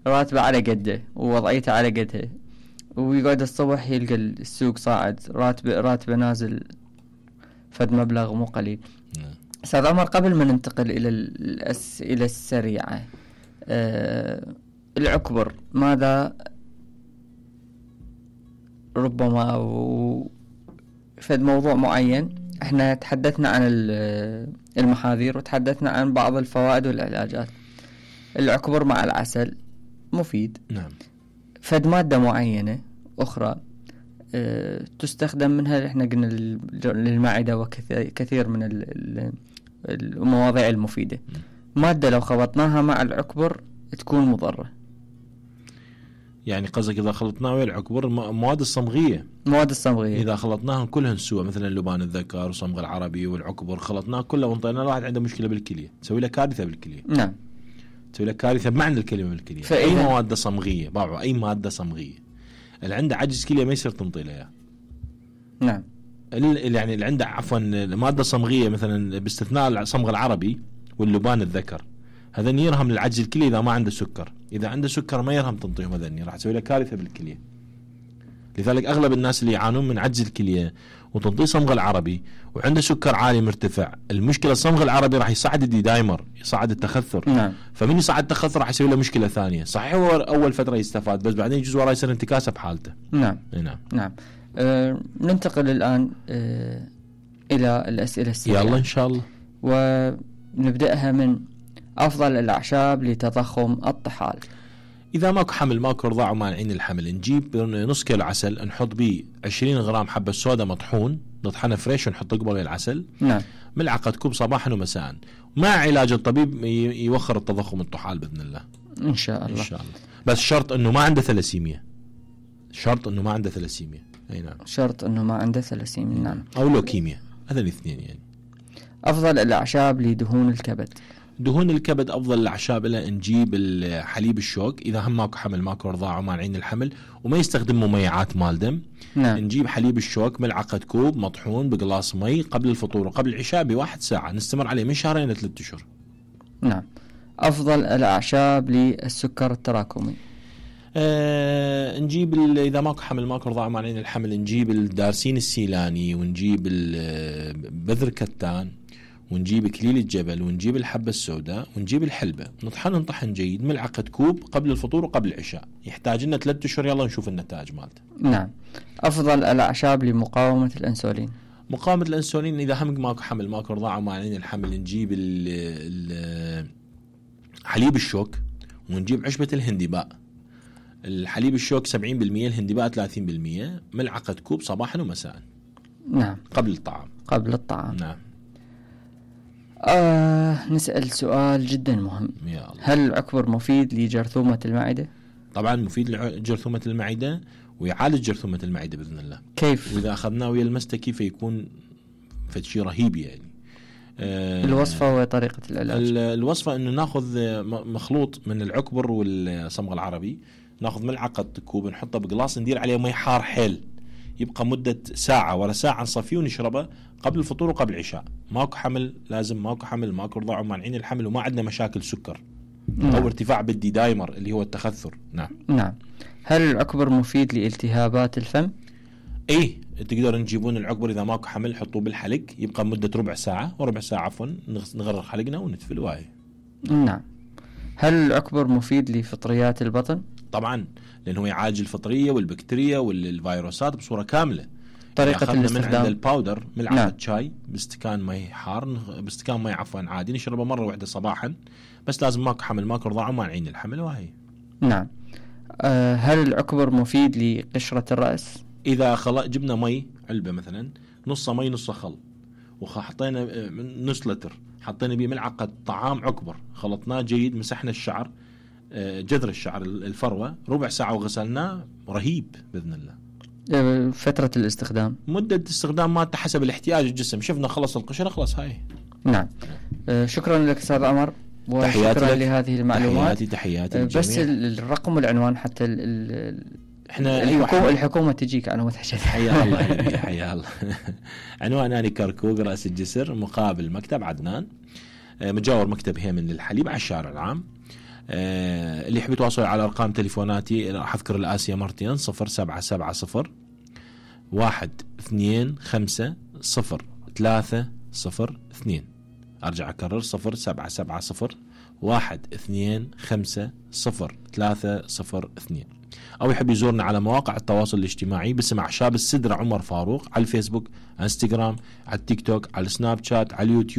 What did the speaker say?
راتبه على قده ووضعيته على قدها، ويقعد الصبح يلقى السوق صاعد راتبه نازل فد مبلغ مو قليل. أستاذ عمر، قبل ما ننتقل إلى الأسئلة السريعة، العكبر ماذا ربما فد موضوع معين؟ احنا تحدثنا عن المحاذير وتحدثنا عن بعض الفوائد والعلاجات. العكبر مع العسل مفيد. نعم. فد مادة معينة أخرى تستخدم منها، احنا قلنا للمعدة وكثير من المواضيع المفيدة. مادة لو خلطناها مع العكبر تكون مضرة. يعني قصدك إذا خلطناه ويا العكبر مواد الصمغية إذا خلطناهم كلهن سوا، مثلا لبان الذكر وصمغ العربي والعكبر، خلطناه كله وانطينا واحد عنده مشكلة بالكلية، تسوي له كارثة بالكلية. نعم. تسوي له كارثة بمعنى الكلمة بالكلية. أي مواد صمغية باعوا، أي مادة صمغية اللي عنده عجز كلية ما يصير تنطي له إياه. نعم. يعني اللي عنده عفوا مادة صمغية مثلا باستثناء الصمغ العربي واللبان الذكر، هذا يرهم للعجز الكلي إذا ما عنده سكر. إذا عنده سكر ما يرهم تنطيهم، هذا راح تسوي له كارثة بالكلية. لذلك أغلب الناس اللي يعانون من عجز الكلية وتنطي صمغ العربي وعنده سكر عالي مرتفع، المشكلة الصمغ العربي راح يصعد الديدايمر، يصعد التخثر. نعم. فمن يصعد التخثر راح يسوي له مشكلة ثانية. صحيح هو أول فترة يستفاد، بس بعدين يجوز وراه يصير انتكاسة بحالته. نعم. نعم. ننتقل الآن إلى الأسئلة السريعة. يلا إن شاء الله. ونبدأها من أفضل الأعشاب لتضخم الطحال. إذا ماكو حمل ماكو رضاع ومانعين الحمل، نجيب نص كيلو عسل، نحط بيه 20 غرام حبة سودا مطحون، نطحنه فريش ونحط قبل العسل. نعم. ملعقة كوب صباحا ومساء، مع علاج الطبيب يوخر التضخم الطحال بإذن الله. إن شاء الله. بس شرط إنه ما عنده ثلاسيميا. أي نعم. شرط إنه ما عنده ثلاسيميا. نعم. أو لوكيميا، هذا الاثنين يعني. أفضل الأعشاب لدهون الكبد. دهون الكبد أفضل الأعشاب لها نجيب الحليب الشوك، إذا هم ماكو حمل ماكو رضاعة ومانعين الحمل وما يستخدم مميعات مال دم. نعم. نجيب حليب الشوك ملعقة كوب مطحون بقلاص مي قبل الفطور وقبل العشاء ب1 ساعة، نستمر عليه من 2 إلى 3 أشهر. نعم. أفضل الأعشاب للسكر التراكمي. نجيب إذا ماكو حمل ماكو رضاعة ومانعين الحمل، نجيب الدارسين السيلاني، ونجيب بذر كتان، ونجيب إكليل الجبل، ونجيب الحبة السوداء، ونجيب الحلبة، نطحن جيد ملعقة كوب قبل الفطور وقبل العشاء. يحتاج لنا 3 أشهر، يلا نشوف النتائج مالته. نعم. أفضل الأعشاب لمقاومة الأنسولين. مقاومة الأنسولين إذا هم ماكو حمل ماكو رضاعة ومانعين الحمل، نجيب حليب الشوك، ونجيب عشبة الهندباء. الحليب الشوك 70%، الهندباء 30%، ملعقة كوب صباحا ومساء. نعم. قبل الطعام. نعم. نسأل سؤال جدا مهم. يا الله. هل العكبر مفيد لجرثومة المعدة؟ طبعا مفيد لجرثومة المعدة ويعالج جرثومة المعدة بإذن الله. كيف؟ وإذا أخذناه ويا المستة كيف يكون فشي رهيب يعني. الوصفة وطريقة العلاج. الوصفة إنه ناخذ مخلوط من العكبر والصمغ العربي، ناخذ ملعقة كوب نحطه بقلاص، ندير عليه مي حار حيل، يبقى مدة ساعة ورا ساعة نصفيه ونشربه قبل الفطور وقبل العشاء. ماكو حمل لازم، ماكو حمل ماكو رضاعة ومانعين الحمل وما عندنا مشاكل سكر. نعم. أو ارتفاع بالديدايمر اللي هو التخثر. نعم. هل العكبر مفيد لالتهابات الفم؟ ايه، تقدر نجيبون العكبر اذا ماكو حمل حطوه بالحلق، يبقى مدة ربع ساعة نغرق حلقنا ونتفل واي. نعم. هل العكبر مفيد لفطريات البطن؟ طبعا، لأنه يعالج الفطرية والبكتيريا والفيروسات بصورة كاملة. طريقة الاستخدام. من عند الباودر ملعقة نعم. شاي باستكان مي حار، باستكان مي عفوا عادي، نشربه مرة واحدة صباحا، بس لازم ماكو حمل ماكو رضاعة ومانعين الحمل وهي. نعم. هل العكبر مفيد لقشرة الرأس؟ إذا جبنا مي علبة مثلا، نص مي نص خل، وحطينا نص لتر، حطينا بيه ملعقة طعام عكبر، خلطناه جيد، مسحنا الشعر، جذر الشعر الفروة، ربع ساعة وغسلناه، رهيب بإذن الله. فترة الاستخدام. مدة استخدام ما حسب الاحتياج الجسم، شفنا خلص القشرة خلص هاي. نعم. شكرا لك أستاذ عمر، وشكرا لهذه المعلومات. تحياتي بس الرقم والعنوان حتى احنا الحكومة تجيك على متحشد. حيا الله حيا الله. عنوان أنا كركوك رأس الجسر، مقابل مكتب عدنان، مجاور مكتب هيمن للحليب على الشارع العام. اللي يحب يتواصل على ارقام تليفوناتي راح اذكر الاسيا مرتين 0770 1250302. ارجع اكرر 0770 1250302. او يحب يزورنا على مواقع التواصل الاجتماعي باسم اعشاب السدرة عمر فاروق، على الفيسبوك، على انستغرام، على التيك توك، على السناب شات، على اليوتيوب.